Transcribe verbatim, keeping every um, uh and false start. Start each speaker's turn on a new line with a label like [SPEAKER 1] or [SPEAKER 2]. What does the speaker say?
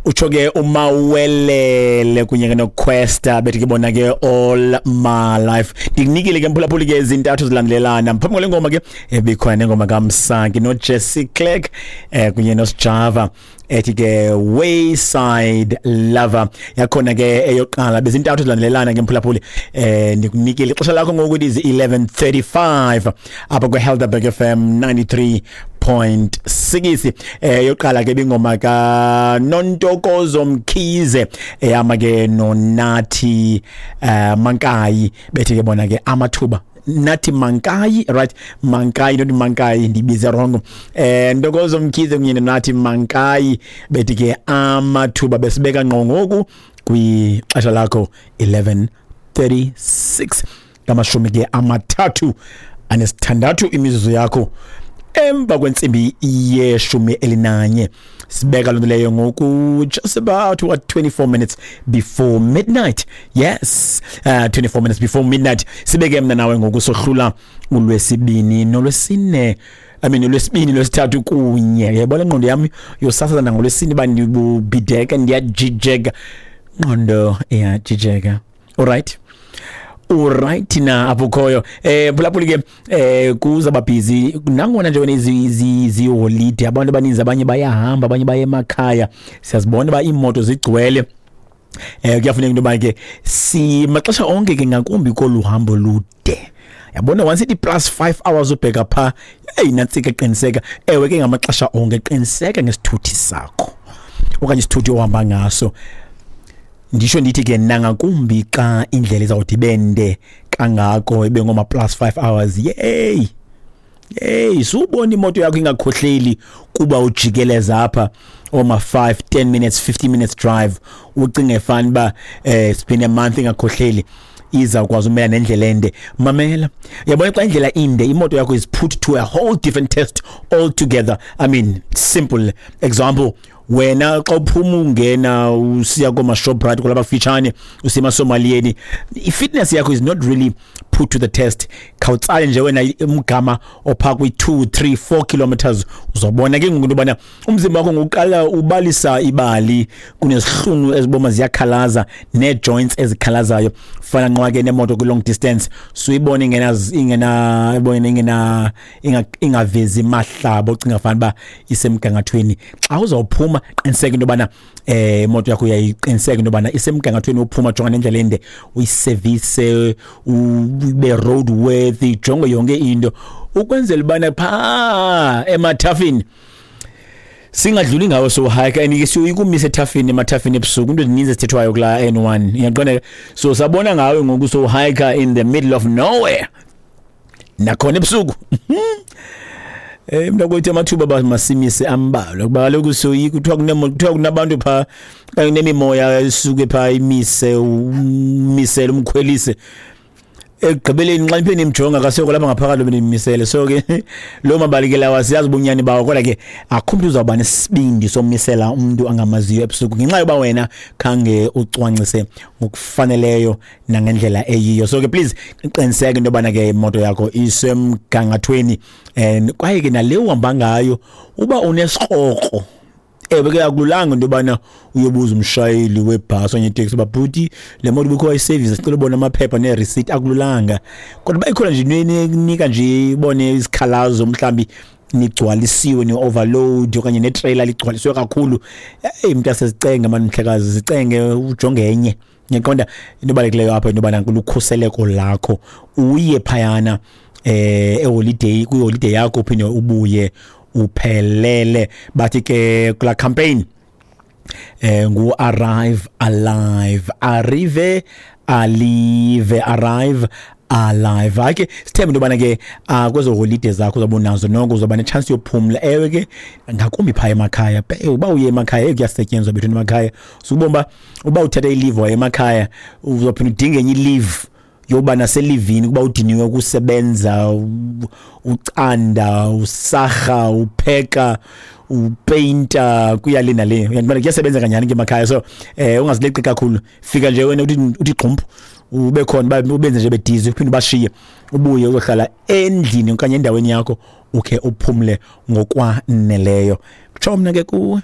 [SPEAKER 1] Utsho ke uMawelele kunye ke noQuesta, bethi ke bona ke "All My Life". Ndikunikile ke, mphulaphuli, ke zintathu zilandelelana. Phambi kwale ngoma ke ebikhona nengoma kaMsaki noJesse Clerk eh kunye noSjava ethi ke "Wayside Lover". Yakhona ke eyoqala, bezintathu zilandelelana ke, mphulaphuli. eh ndikunikile ixesha lakho ngoku, it is eleven thirty-five apha kwe-Helderberg F M ninety-three point six. eh yoqala ke bingoma ka Nontokozo Mkhize ehamba ke noNathi eh Mankayi, bethi ke bona ke "Amathuba". Nathi Mankayi, right? Mankayi, not Mankayi, ndibize wrong. eh Ntokozo Mkhize kunye noNathi Mankayi bethi ke "Amathuba". Besibeka ngqo ngoku kwixesha lakho eleven thirty-six, ngamashumi ke amathathu anesithandathu imizuzu yakho emva kwentsimbi yeshumi elinanye. Sibeka loo nto leyo ngoku just about, what, twenty-four minutes before midnight. Yes, uh, twenty-four minutes before midnight. Sibeke mna nawe ngoku sohlula ulwesibini nolwesine, I mean, ulwesibini, lwesithathu kunye. Yabona ingqondo yami yosasaza nangolwesine uba ndibubhideka, ndiyajijeka, ngqondo iyajijeka. Alright, alright na apho ukhoyo, eh phulaphuli ke, eh kuzaba busy nangona nje wena izi izi holiday, abantu abaninzi, abanye bayahamba, abanye baye emakhaya. Siyazibona ba iimoto zigcwele. eh kuyafuneka into yoba ke si maxesha onke ke, ngakumbi kolu hambo lude. Yabona, once ithi plus five hours ubheka pha, hey, nantsika. Qiniseka, ewe ke, ngamaxesha onke qiniseka ngesithuthi sakho okanye isithuthi ohamba ngaso. Ndisho ndithi ke nangakumbi xa indlela izawuthi ibende kangako, ibe ngoma plus five hours. Yey, hey, subona imoto yakho ingakhohleli kuba ujikeleza apha oma five, ten minutes, fifty minutes drive, ucinge fani ba eh it's been a month ingakhohleli, izawukwazi umela nendlela ende. Mamela, uyabona xa indlela inde, imoto yakho is put to a whole different test altogether. I mean, simple example, wena xa uphuma ungena usiya koma-Shoprite kulapha kufitshane, usiya emasomaliyeni, i-fitness yakho is not really put to the test. Khawutsale nje wena umgama ophaa kwi-two, three, four kilometers, uzobona ke ngoku into yobana umzimba wakho ngokuqala ubalisa ibali, kunezihlunu eziboma ziyakhalaza, nee-joints ezikhalazayo. Fana nqwa ke nemoto kwi-long distance, suyibona ingena ingena ibona ingena ingavezi mahlaba, ucinga fana uba isemgangathweni. Xa uzawuphuma, qiniseka into yobana eh imoto yakho uyayiqiniseka into yobana isemgangathweni wophuma, jonga nendlela ende, uyi-service, ube road worthy, jonge yonke into ukwenzela ubana phaa emathafeni singadluli ngawo. So hike and ke siyoyikumisa ethafeni, emathafeni ebusuku, into ezininzi ezithethwayo kulaa N one, uyaqonda? So sabona ngawe ngoku, so hike in the middle of nowhere nakhona ebusuku. Eh mntakwethu, amathuba ba masimise ambalwa, kuba kaloku soyika. Kuthiwa kunemoto, kuthiwa kunabantu phaa kanye nemimoya esuke phaa imise, umisele, umkhwelise. Ekugqibeleni xa niphe nimjonga, kasekho lapha ngaphakathi benimisele. So ke loo mabali ke lawa siyazi ubunyani bawo, kodwa ke akho mntu uzawuba nesibindi somisela umntu angamaziyo ebusuku ngenxa yoba wena khange ucwangcise ngokufaneleyo nangendlela eyiyo. So ke please qiniseka into yobana ke imoto yakho isemgangathweni and kwaye ke nale uhamba ngayo uba unesikrokro. Ewe ke, akululanga into yobana uyobuza umshayeli webhasi okanye iteksi uba, "Bhuti, le moto ubukho wayi-service, sicela ubona amaphepha nee-receipt." Akululanga, kodwa uba ikhona nje into eninika nje ibone isikhalazo, mhlawumbi nigcwalisiwe, ni-overload okanye netreyila ligcwalisiwe kakhulu, eyi mntu, asezicenge mani, mhlekazi, zicenge ujonge enye. Ngiyaqonda, into ebalulekileyo apha into yobana lukhuseleko lakho, uye phayana eh e-holiday, kwi-holiday yakho, uphinde ubuye uphelele. Bathi ke kula campaign eh ngu "Arrive Alive", arrive alive, arrive alive. Hayi ke, sithembe into yobana ke uh, kwezo holiday zakho uzawube unazo noko uzawuba ne-chance yophumla. Ewe ke, ngakumbi phaya emakhaya, uba uye emakhaya, kuyasetyenzwa bethu emakhaya. Sukubona uba uba uthatha i-leave waye emakhaya, uzawuphinda udinge enye i-leave yoba naselivini kuba udiniwe ukusebenza, ucanda, usarha, upheka, upeyinta, kuya le nale. Uyandibona, kuyasebenza kanyani ke emakhaya. So eh ungazileqi kakhulu, fika nje wena uthi uthi gqumpu, ube khona, ubenze nje bedizi, uphinde ubashiye, ubuye uzohlala endlini okanye endaweni yakho, ukhe uphumle ngokwaneleyo. Kutsho mna ke kuwe.